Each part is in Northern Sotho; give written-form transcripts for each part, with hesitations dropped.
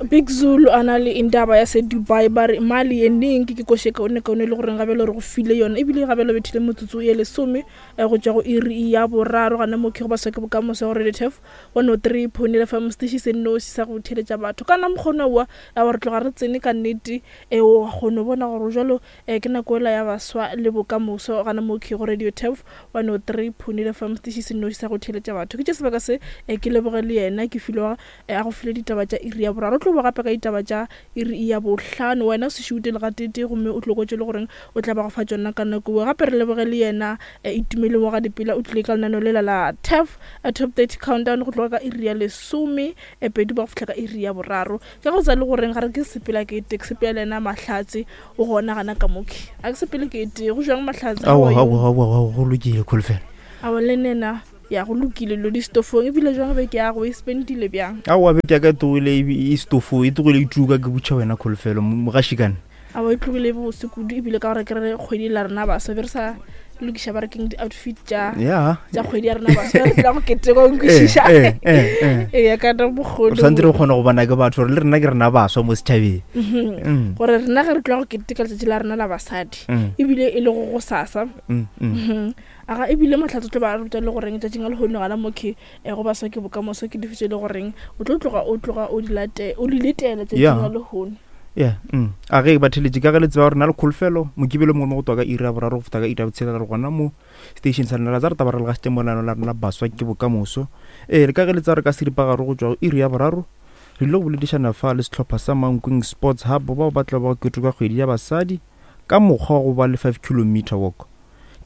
Big Zulu a na le indaba ya se Dubai ba re mali ye neng ke ke koše kaone kaone le goreng gabelo re go file yona ebile gabelo bethile motsotso ye lesome eh, go tšwa go iri ya boraro gana mo ke go baswa ke bokamoso go Radio Turf 103.8 FM setiši se nnoši sa go theletša batho kana mokgono wa wa re tloga re tsene ka nnete e o kgone bona gore jalo eh, ke nako ela ya baswa le bokamoso gana mo ke go Radio Turf 103.8 FM setiši se nnoši sa go theletša batho ke tše sebaka se eh, ke leboge le yena ke filwe a go file ditaba tša iri ya boraro. O tlo boa gape ka ditaba tša iri ya bohlano. Wena o se šute le gatete gomme o tlo kwa tše le goreng o tla ba go fa tšona ka nako eo. Gape re leboge le yena Itumeleng wa ga Dipela o tlile ka lenaneo lela la TAF Top 30 Countdown go tloga ka iri ya lesome pedi ba go fihla ka iri ya boraro. Ke go tsa le goreng ga re ke sepela ke ete ke sepela le yena Mahlatse o gona gana ka moke. A ke sepele ke ete go jwang Mahlatse? Aowa, aowa, aowa, aowa, go lokile Kholofelo. Aowa le nena. Ya go lokile lo di stofong ebile jwang beke ya go e spendile bjang? Aowa beke ya ka e tlogile e e stofo e tlogile e tuka ke butšha wena kholofelo mogašikane. Aowa e tlogile e bose kudu ebile ka gore ke re kgwedi la rena baswa be re sa lokiša ba re keng di-outfit tša yeah tša kgwedi ya rena baswa re tla go keteka o nkwešiša eh, eh, eh. ee ka na bokgoni re santse re kgona go bona ke batho gore le rena ke rena baswa mo setšhabeng mm. gore rena ge re tloga go keteka letšatši la rena la basadi ebile e le go go sasa mm. Aga e bile Mahlatse o tlo ba ruta le goreng tšatšing la lehono gana mo ke eh, go baswa ke bokamoso ke dife tše le goreng o tlo tloga o tloga o di late o di letela tšatšing Yeah. la lehono. Yeah, mm. A ge ba theletše ka ge le tseba gore na le kholofelo mokibelo mongwe mo go twa ka iri ya boraro go feta ka iri ya botshelela re gona mo station sa lena la tsa re taba re le gašitše mo lenaneo la rena la baswa ke bokamoso ee le ka ge le tseba re ka seripagare go tšwa go iri ya boraro re ile go boledišana fa le sehlopha sa Mankweng Sports Hub bao ba tla ba keteka kgwedi ya basadi ka mokgwa wa go ba le 5 kilometer walk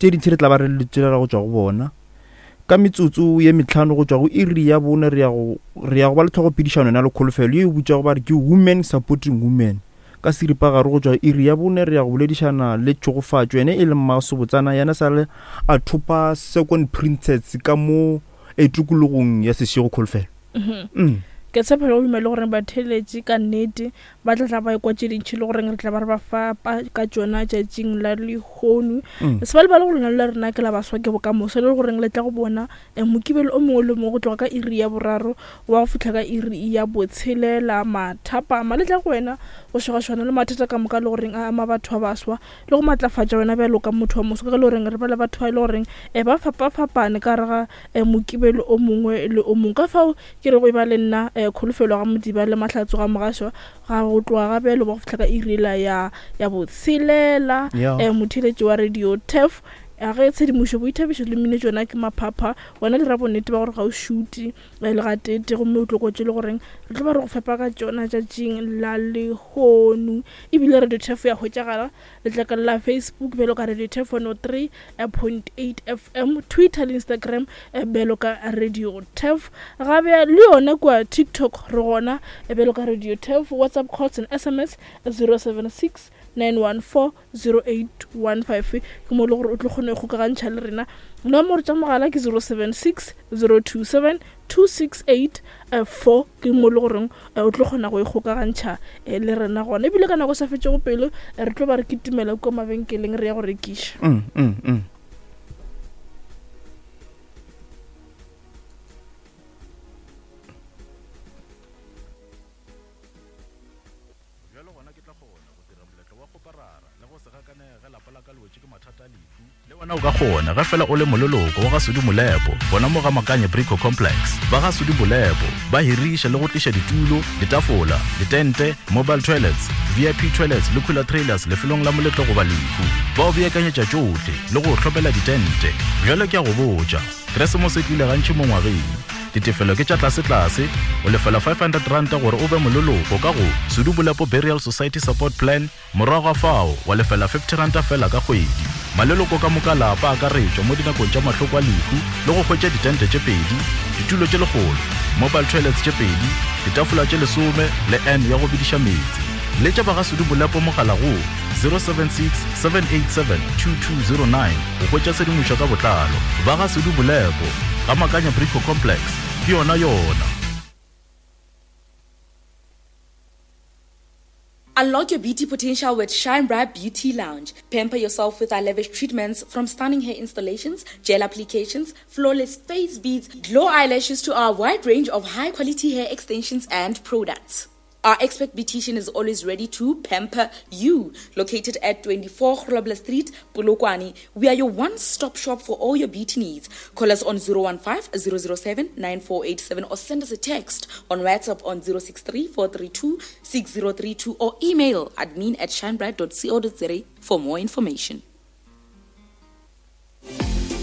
Tše dintši re tla ba re le tšelela go tšwa go bona. Ka metsotso ye metlhano go tšwa go iri ya bone re ya go re ya go ba le tlhogopedišano yona le kholofelo ye e butšago ba re ke Women Supporting Women. Ka seripagare go tšwa iri ya bone re ya go boledišana le Tšhogofatšo yena e leng mmasobotsana yena sa le a thopa Second Princess ka mo e tikologong ya Seshego Kholofelo. Mm. Ke tshepa le go duma le gore batheeletši ka nnete ba tla tla ba ekwa tše dintšhi le goreng re tla ba re ba fapa ka tšona tšatšing la lehono mm. se ba lebale gore lena le rena ke la baswa ke bokamoso le goreng le tla go bona eh, mokibelo o mongwe le mongwe go tloga ka iri ya boraro wa go fihla ka iri ya botshelela mathapama le tla go wena go šogašwana le mathata ka moka le goreng a ama batho ba baswa le go matlafatša wena bjalo ka motho wa moso ka ge le goreng re ba le batho ba e le goreng um ba fapafapane ka gare ga um mokibelo o mongwe le o mongwe ka fao Ke re go e ba le nna eh, Kholofelo ga Modiba le Mahlatso ga Mogašwa ga go tloga ga bjalo ba go fihla ka iri yela ya ya botshelela Yeah. eh, motheeletši wa radio tef a ge tshedimošo boithabišo le mmino tšona ke maphapha wena dira bonnete ba gore ga o šute eh, le gatete gomme o tlo kotše le goreng re tlo ba re go fepa ka tšona tšatšing la lehono ebile radio tef ya hwetšagala Letlakala la Facebook bjalo ka Radio Turf 103.8 FM, Twitter le Instagram eh, bjalo ka Radio Turf. Gabe le yona kua TikTok re gona eh, bjalo ka Radio Turf, WhatsApp calls and SMS 076 914 0815 ke mo e le gore o tlo kgone go kgokagantšha le rena. Nomoro tša mogala ke 076 027 268 4 ke mo e le goreng eh, o tlo kgona go ikgokagantšha eh, le rena gona ebile ka nako e sa fetšego pelo eh, re tlo ba re kitimela kua mabenkeleng re ya go rekiša Mm, mm, mm. Bjalo gona ke tla kgona go dira moletlo wa kgoparara le go se gakanege ge lapa la ka le wetše ke mathata a lehu. Le wena o ka kgona ge fela o le moleloko wa ga Sudi Molepo gona mo ga Makanye Brico Complex. Ba ga Sudi Molepo ba hiriša le go tliša ditulo, ditafola, ditente, mobile toilets, VIP toilets le cooler trailers lefelong la moletlo goba lehu. Ba o beakanyetša tšohle le go o hlomela ditente. Bjale ke a go botša, Keresemose e tlile gantši mo ngwageng. Ditefelo ke tša tlasetlase, o lefela R500 gore o be moleloko ka go Sudu Bolepo Burial Society Support Plan, morago ga fao wa lefela R50 feela ka kgwedi. Maleloko ka moka a lapa a akaretšwa mo dinakong tša mahloko a lehu le go hwetša ditente tše pedi, ditulo tše lekgolo, mobile toilets tše pedi, ditafola tše lesome le urn ya go bediša meetse. Letša ba ga Sudu Bolepo mogala go 076 787 2209 go hwetša tshedimošo ka botlalo. Ba ga Sudu Bolepo, ga Makanya Brico Complex, ke yona yona. Unlock your beauty potential with Shine Bright Beauty Lounge. Pamper yourself with our lavish treatments from stunning hair installations, gel applications, flawless face beads, glow eyelashes to our wide range of high quality hair extensions and products. Our expert beautician is always ready to pamper you. Located at 24 Grobler Street, Polokwane, we are your one-stop shop for all your beauty needs. Call us on 015 007 9487 or send us a text on WhatsApp on 063 432 6032 or email admin at shinebright.co.za for more information.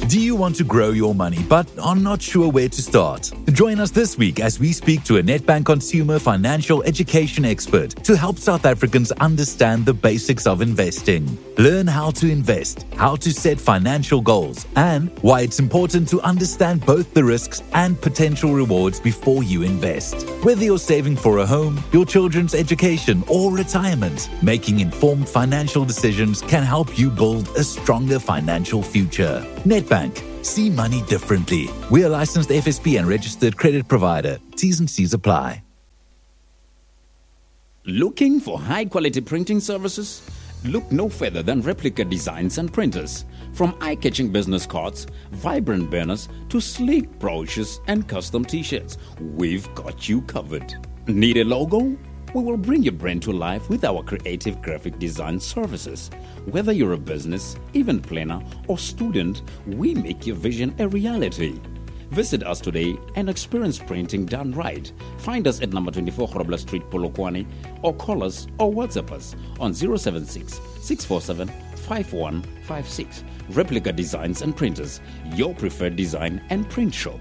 Do you want to grow your money but are not sure where to start? Join us this week as we speak to a Nedbank consumer financial education expert to help South Africans understand the basics of investing. Learn how to invest, how to set financial goals, and why it's important to understand both the risks and potential rewards before you invest. Whether you're saving for a home, your children's education, or retirement, making informed financial decisions can help you build a stronger financial future. Nedbank. See money differently. We are licensed FSP and registered credit provider. T's and C's apply. Looking for high quality printing services? Look no further than Replica Designs and Printers. From eye catching business cards, vibrant banners, to sleek brochures and custom t shirts, we've got you covered. Need a logo? We will bring your brand to life with our creative graphic design services. Whether you're a business, event planner, or student, we make your vision a reality. Visit us today and experience printing done right. Find us at number 24 Grobler Street, Polokwane, or call us or WhatsApp us on 076 647 5156. Replica Designs and Printers, your preferred design and print shop.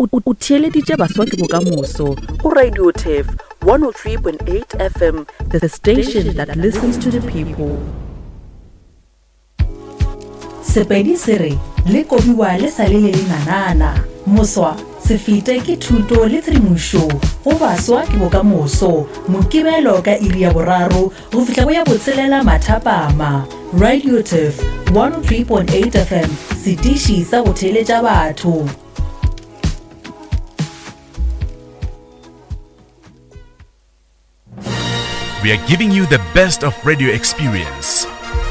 O theeleditše Baswa ke Bokamoso go Radio Turf 103.8 FM, the station that listens to the people. Sepedi se re le kobiwa le sa le le lenanana. Moswa se fete ke thuto le tshedimošo go Baswa ke Bokamoso, Mokibelo ka iri ya boraro go fihla go ya botshelela mathapama. Radio Turf 103.8 FM, setiši sa go theeletša batho. We are giving you the best of radio experience.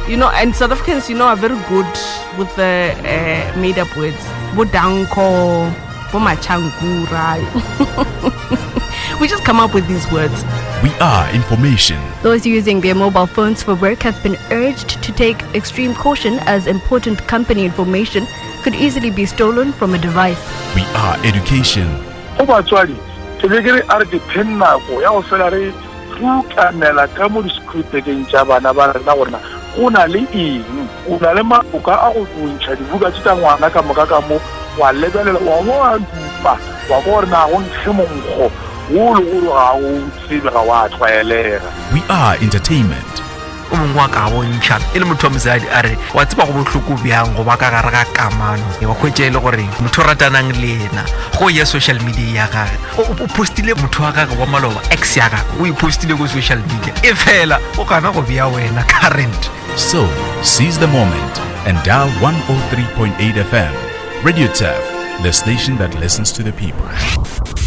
You know, and South Africans, you know, are very good with the uh, made up words. Bodanko, Bomachankura. we just come up with these words. We are information. Those using their mobile phones for work have been urged to take extreme caution as important company information could easily be stolen from a device. We are education. Go batswadi, ke be ke re a re ke pheng nako ya go fela re rukanela ka mo disekhurupekeng tša bana ba rena gore na go na le eng. O na le maoka a go ntšha dibuka tše tša ngwana ka moka ka mo, wa lebelela, wa bo wa dupa, wa kwa gore na go nkge monkgo wo le gore ga o tsebe, ga wa tlwaelega. We are entertainment. O mongwe wa ka bontšha e le motho wa mosadi a re wa tseba go bohloko bjang go ba ka gare ga kamano wa kgwetša e le gore motho o ratanang le yena go ya social media ya gage o postile motho wa gage wa maloba ex ya gage o e postile ko social media e fela o gana go bea wena current. So, seize the moment and dial 103.8 FM. Radio Turf, the station that listens to the people.